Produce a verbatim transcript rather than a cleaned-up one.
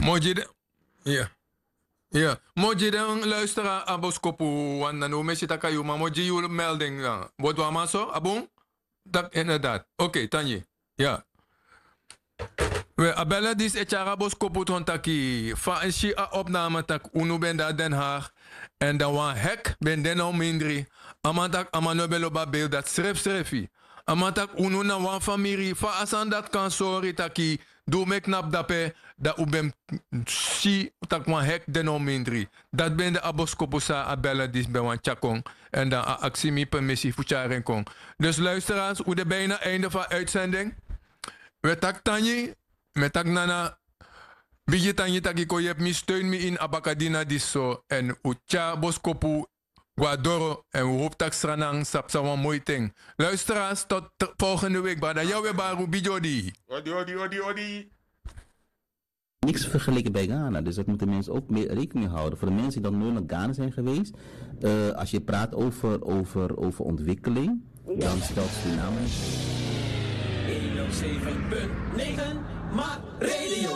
Moji de. Ya. Ya, moji den luistera a boskopu. Wan na no mesi taka yu ma moji yu melding na bot wan man so a bun. Tak inderdaad. Oke, tanyi. Ya. We a bella dis e tyari a boskopu tron taki fa en si a opname tak unu ben de a den haag. En dan wan hek ben de na un mindri. A man tak a man no ben lobi a beeld dati srefsrefi. A man tak' unu na wan famiri fa a sani dati kan sori taki di un meki knapu dape, dan un ben si tak' wan hek de no mindri. Dati ben de a boskopu san a bella disi ben wani tyari kon. Èn dan a aksi mi permisi fu tyari en kon. Dus luisterans un de bina einde fu a uitsending. Un e taki tangi. Mi e taki nana bigi tangi tak' yu kon yepi mi steun mi ini a bakadina disi so èn un tyari a boskopu go na doro. Èn un hopu tak' sranan sa psa wan moi ten. Luisteraars tot volgende week brada yawe baru bigi odi. Odi odi odi odi. Niks vergeleken bij Ghana, dus dat moeten mensen ook mee rekening houden voor de mensen die dan nooit naar Ghana zijn geweest. Als je praat over over over ontwikkeling, dan stelt Suriname. Eenhonderdzeven punt negen, maar radio.